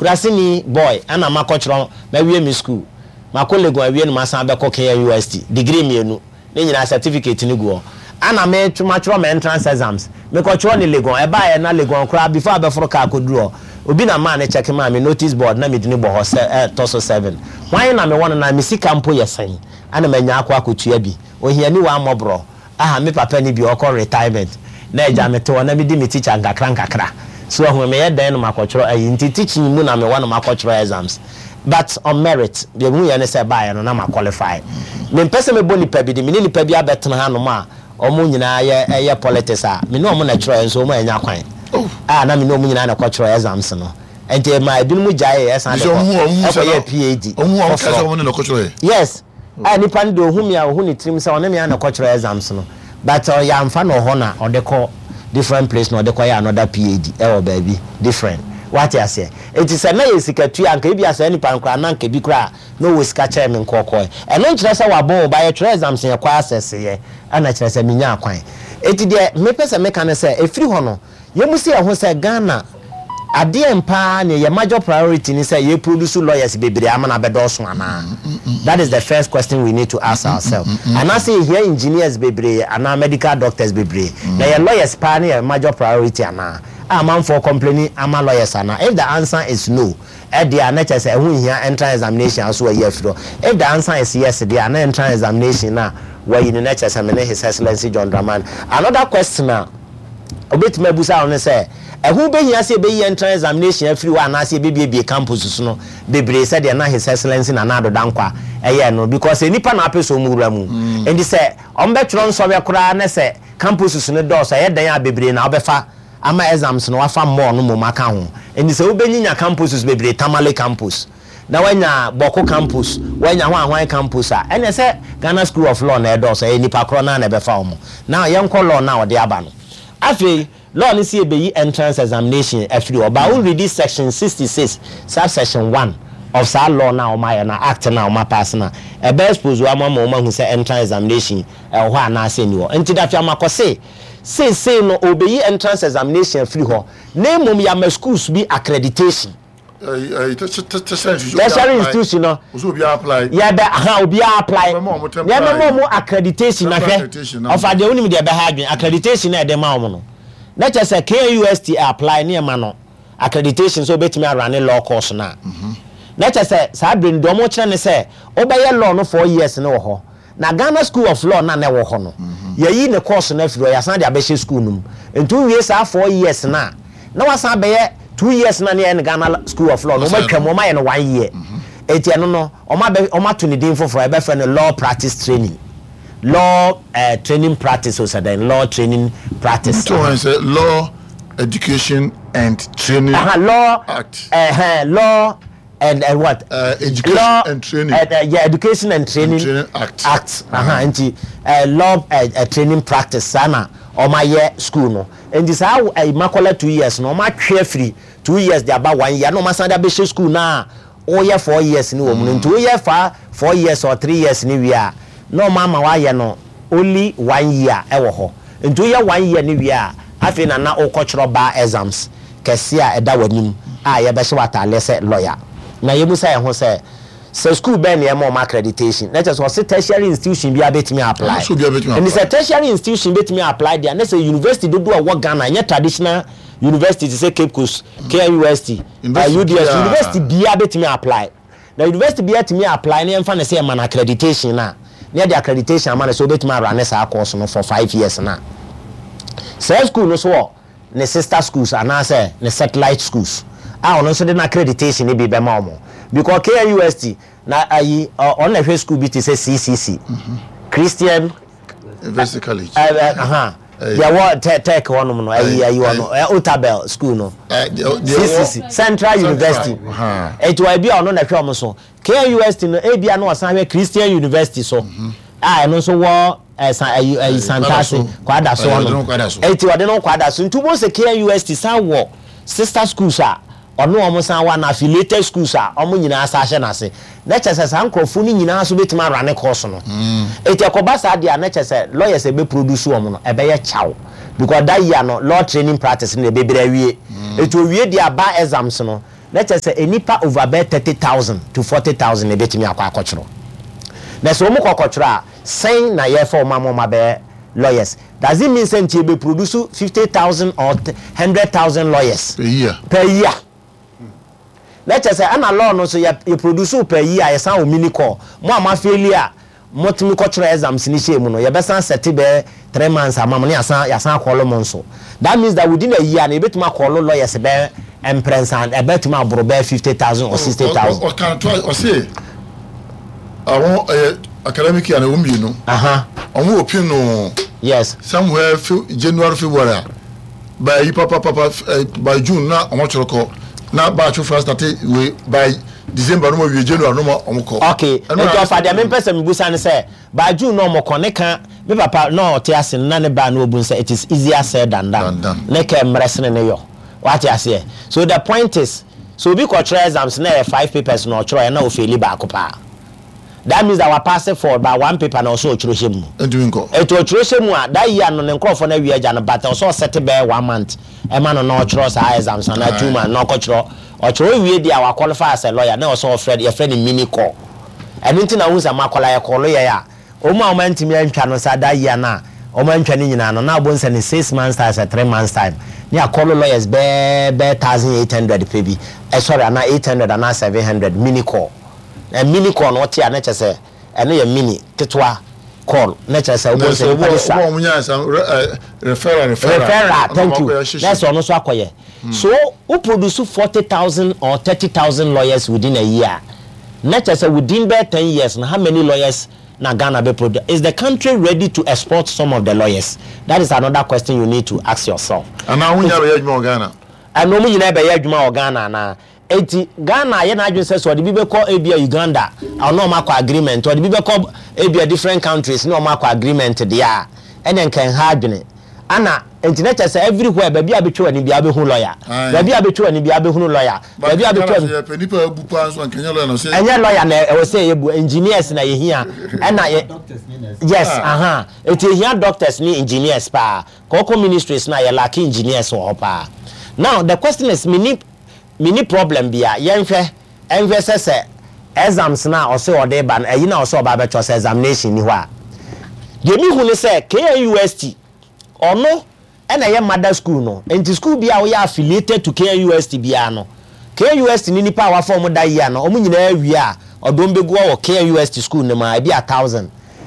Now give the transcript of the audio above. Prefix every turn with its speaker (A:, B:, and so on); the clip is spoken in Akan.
A: Kuraseni boy ɛna makɔtwerɛ, mawie me school. Makɔ Legon awie na masan abɛkɔ KNUST, degree mmienu. Ne nyinaa certificate no gu hɔ. Ana me matwerɛ me entrance exams. Mekɔtwerɛ no Legon. Ɛbaeɛ na Legon koraa before abɛforo car kɔduru hɔ, obi na maa no check maa me notice board na me dini bɔ hɔ sɛ ɛtɔ so seven. Hwan na mewɔ no na me sika mpo yɛ sɛn? Ana manya akɔ akɔtua bi. Ohiani waa mmɔborɔ. Aha me papa ni bi ɔkɔ retirement na agya me te hɔ na me di me teacher nkakra nkakra. So wahu meyɛ dɛn na makɔtwerɛ ayi nti teaching mu na mewɔ na makɔtwerɛ exams. But on merit, deɛ mehuiɛ ne sɛ ɛbaeɛ no na ma qualify. Mempɛ sɛ mɛbɔ nipa bi din, me ne nipa bi abɛtena hanom a wɔn nyinaa yɛ yɛ politics a, me ne wɔn na ɛtwerɛeɛ nso wɔn annya kwan a na me ne wɔn nyinaa na ɛkɔtwerɛ exams no. Nti ɛmaa ebinom gyaeɛ ɛsan de kɔ ɛkɔyɛɛ PhD foforɔ. Yes, a nipa no deɛ ɔhu me a ɔhu ne tirim sɛ ɔne me ara na ɛkɔtwerɛ exams no. But yɛamfa no wɔ hɔ na ɔde kɔ different place na ɔde kɔyɛ another PhD ɛwɔ baabi different. Wate aseɛ? Enti sɛ na yɛ sika tua a anka ebia saa nipa no koraa na anka bi koraa na ɔwɔ sika kyɛn me nkɔɔkɔɔɛ. Ɛno nkyerɛ sɛ wabɔn o, but yɛtwerɛ exams yɛkɔ access yɛ ɛna kyerɛ sɛ menyaa kwan. Enti deɛ mepɛ sɛ meka ne sɛ ɛfiri hɔ no Yɛmmisa yɛn ho sɛ, Ghana, adeɛn paa ne yɛ major priority ne sɛ yɛ produce lawyers bebree ama no abɛdɔɔso anaa? That is the first question we need to ask ourselves. Anaasɛ yɛhia engineers bebree anaa medical doctors bebree? Na yɛ lawyers paa ne yɛ major priority anaa? A amanfoɔ complaining ama lawyers anaa? If the answer is no deɛ a, na kyerɛ sɛ ɛho nhia entrance examination a nso wɔayi afiri hɔ. If the answer is yes deɛ a, na entrance examination no a wɔayi no na kyerɛ sɛ me ne His Excellency John Dramani. Another question a Obetumi abisa wo ne sɛ, Ɛho behia sɛ yɛbɛyi entrance examination afiri hɔ anaasɛ yɛbɛbiebie campuses no bebree sɛdeɛ na His Excellency Nana Addo Dankwa yɛɛ no? Because nnipa na apɛ sɛ wɔn wura mu. Enti sɛ wɔbɛtwerɛ nsɔhwɛ koraa na sɛ campuses no dɔɔso a, ɛyɛ dɛn a bebree na wobɛfa ama exams no wɔafa more no mmom aka ho. Enti sɛ wobɛnyinya campuses bebree, Tamale campus, na woanya Bawku campus, woanya hwan hwan campus a, ɛneɛ sɛ Ghana School of Law na ɛdɔɔso, ɛyɛ nnipa korɔ no ara na ɛbɛfa wɔn. Now yɛnkɔ law no a wɔde aba no. Afei, law no se yɛbɛyi entrance examination afiri hɔ, but wo readi section 66 subsection 1 of saa law no a wɔayɛ no, act no a wɔapaase no a, ɛbɛ expose wo ama wɔahu sɛ entrance examination ɛwɔ hɔ anaasɛ ɛnni hɔ. Nti Dafi Amakɔ se, seesei no wɔbɛyi entrance examination afiri hɔ, na mmom yɛama schools bi accreditation. Tertiary institution no yɛbɛ aha obiara apply yɛbɛma wɔn accreditation na hwɛ ɔfa deɛ wonim deɛ ɛbɛha adwene accreditation na ɛde ma wɔn no na kyerɛ sɛ KNUST apply ne ɛma no accreditation sɛ obetumi arane law course no a na kyerɛ sɛ saa bere no deɛ wɔn kyerɛ ne sɛ wobɛyɛ law no 4 years no wɔ hɔ. Na Ghana School of Law no a na ɛwɔ hɔ no, yɛayi ne course no afiri hɔ, yɛasan de abɛhyɛ school no mu. Nti wowie saa 4 years no a, na woasan abɛyɛ 2 years no a na yɛyɛ no Ghana School of Law no, wɔatwa mu, wɔayɛ no one year. Nti ɛno no, wɔabɛ, wɔato ne din foforɔ, yɛbɛfrɛ no Law Practice Training. Law eh, Training Practice o sɛ dɛn, Law Training Practice.
B: Nti wɔn sɛ Law Education and Training
A: Aha, Law,
B: Act.
A: eh, Law and what?
B: Education
A: Law
B: and Training.
A: Yeah, Education and Training,
B: and Training Act.
A: Act. Aha, nti law training practice saa na wɔn ayɛ school no. Nti saa Makola 2 years no, wɔn atwe afiri 2 years de aba one year na wɔn asan de abɛhyɛ school na wɔyɛ 4 years no wɔ mu no. Nti woyɛ fa 4 years or 3 years no wie a, na wɔn ama wɔayɛ no only one year ɛwɔ hɔ. Nti woyɛ one year no wie a, afei na wokɔtwerɛ bar exams kɛse a ɛda w'anim a yɛbɛhyɛ w'ataaleɛ sɛ lawyer. Na yɛmu sɛ yɛn ho sɛ school bɛn na ɛma ɔmo accreditation, na kyerɛ sɛ ɔse tertiary institution bi abɛtumi apply.
B: Ɔno nso obiara bɛtumi
A: Ɛni
B: apply.
A: sɛ tertiary institution bɛtumi apply deɛ, ne sɛ university dodoɔ a ɛwɔ Ghana, ɛnyɛ traditional university te sɛ Cape Coast, KNUST,
B: University
A: UDS,
B: biara.
A: University biara bɛtumi apply. Na university biara tumi apply ne yɛmfa ne sɛ yɛma no accreditation a, na yɛde accreditation ama no sɛ wobɛtumi arun saa course no for 5 years, na saa school no so wɔ ne sister schools anaasɛ ne satellite schools a ɔno nso de no accreditation no bi bɛma wɔn, because KNUST na ayi ɔno na ɛhwɛ school bi te sɛ CCC, Christian
B: University College.
A: Aha, deɛ wɔ tech hɔnom no, ayi wɔ no Otabil school no.
B: Deɛ wɔ
A: CCC, Central University.
B: Aha.
A: Eti wɔ ebi a ɔno na ɛhwɛ ɔmo so. KNUST no, ebi a na ɔsan hwɛ Christian University so a ɛno nso wɔ ɛsan ayi Santase Kwadaso
B: Ɔde
A: hɔnom.
B: no Kwadaso.
A: Eti ɔde no Kwadaso, nti wɔn sɛ KNUST san wɔ sister schools a ɔno wɔn san wɔ na affiliated schools a wɔn nyinaa sa ahyɛ n'ase, na kyerɛ sɛ saa nkurɔfoɔ no nyinaa nso bɛtumi arun course no. Eti ɛkɔba saa deɛ a, na kyerɛ sɛ lawyers a ɛbɛ produce wɔn no ɛbɛyɛ kyaw, because that year no, law training practice no deɛ bebree awie. Eti owie deɛ a, bar exams no. na kyerɛ sɛ nnipa over bɛyɛ 30,000 to 40,000 na ɛbɛtumi akɔ akɔtwerɛ. Na sɛ wɔn kɔ kɔtwerɛ a, sɛn na yɛrefa wɔn ama wɔn abɛyɛ lawyers? Does it mean sɛ nti yɛbɛ produce 50,000 or 100,000 lawyers
B: Per year.
A: Per year? Na kyerɛ sɛ ɛna law no nso yɛ yɛ produce wo per year a, yɛsan wɔ mini call. Mo a mo afeeli a motumi kɔtwerɛ exams no hyɛɛ mu no, yɛbɛsan sɛte bɛyɛ 3 months ama mo na yɛasan akɔɔlo mo nso. That means that within a year no, yɛbɛtumi akɔɔlo lawyers bɛyɛ mprɛnsa, ɛbɛtumi aboro bɛyɛ 50,000 or 60,000.
B: Ɔka to ɔse àwọn ɛyɛ academic year na wɔn mmienu. Wɔn open no. Somewhere January, February a by yi papa by June na wɔn atwerɛ kɔ na batch foforɔ start wei by December no mo wie, January no mo wɔn kɔ.
A: Okay, nti ɔfa deɛ mempɛ sɛ mebusa ne sɛ by June na ɔmo kɔ ne ka. Me papa na ɔte ase no, na ne ba na ɔbu sɛ it is easier said than done.
B: Than done.
A: Ne kɛ mmerɛ sene ne yɔ, wate aseɛ? So the point is, so obi kɔtwerɛ exams na ɛyɛ five papers na ɔtwerɛ na ɔfaili baako paa, that means that wapass four but one paper na ɔsɛ ɔtwerɛ hyɛ mu.
B: Ntumi nkɔ.
A: Ɛti ɔtwerɛ hyɛ mu a, that year no ne nkurɔfoɔ no awie agya no, but ɔsɛ ɔsɛte bɛyɛ one month ɛma no na ɔtwerɛ saa exams anaa 2 months na ɔkɔtwerɛ. Ɔtwerɛ wie deɛ a, waqualify as a lawyer na ɔsɛ ɔfrɛ, yɛfrɛ no mini call. Ɛno nti na wohu sɛ makɔla yɛkɔɔlo yɛn a, wɔn a wɔn antumi antwa no saa that year no a wɔn antwa no nyinaa no, na abɔ nsɛ ne 6 months time sɛ 3 months time ne akɔɔlo lawyers bɛɛ 1800 pɛ bi ɛsɔre anaa 800 anaa 700 mini call. Na mini call no, ɔte a, na kyerɛ sɛ ɛno yɛ mini ketewa call, na kyerɛ sɛ wobɔ nsɛ nipa de sa.
B: Wɔn nya sa referral, referral.
A: Referral, thank you. Na sɛ ɔno nso akɔyɛ so, wo produce 40,000 or 30,000 lawyers within a year, na kyerɛ sɛ within bɛɛ 10 years no, how many lawyers na Ghana bɛ produce? Is the country ready to export some of the lawyers? That is another question you need to ask yourself.
B: Anaa wɔn nyinaa bɛyɛ adwuma wɔ Ghana?
A: Ɛna wɔn nyinaa bɛyɛ adwuma wɔ Ghana anaa? Eti Ghana ayɛ n'adwene sɛ ɔde bi bɛkɔ ebia Uganda, ɔno ɔmo akɔ agreement, ɔde bi bɛkɔ ebia different countries ne ɔmo akɔ agreement deɛ a, ɛna nka nha adwene ana. Nti na kyerɛ sɛ everywhere, baabi a bɛtwa w'ani biara bɛhu lawyer, baabi a bɛtwa w'ani biara bɛhunu lawyer, baabi a bɛtwa w'ani.
B: Yɛpɛ nipa abu paa nso, nkɛnyɛ lawyer na ɔsɛ.
A: Ɛnyɛ lawyer na ɛwɔ sɛ yɛ bu. Engineers na yɛhia, ɛna yɛ, yes, aha, eti yɛhia doctors ne engineers paa. Kɔkɔ ministries na yɛ lack engineers wɔ hɔ paa. Now the question is, mini problem bia, yɛnhwɛ ɛnhwɛ sɛ exams na ɔsɛ ɔde ba no, ɛyi na ɔsɛ ɔba abɛtɔ sɛ examination ni hɔ a, deɛ mi hu ne sɛ KNUST ɔno ɛna ɛyɛ mother school no. Nti school bi a woyɛ affiliated to KNUST biara no, KNUST ne nipa a wafa wɔn da yia no, wɔn nyinaa wie a, ɔde wɔn bɛgu hɔ wɔ KNUST school no mu a, ebi a 1,000.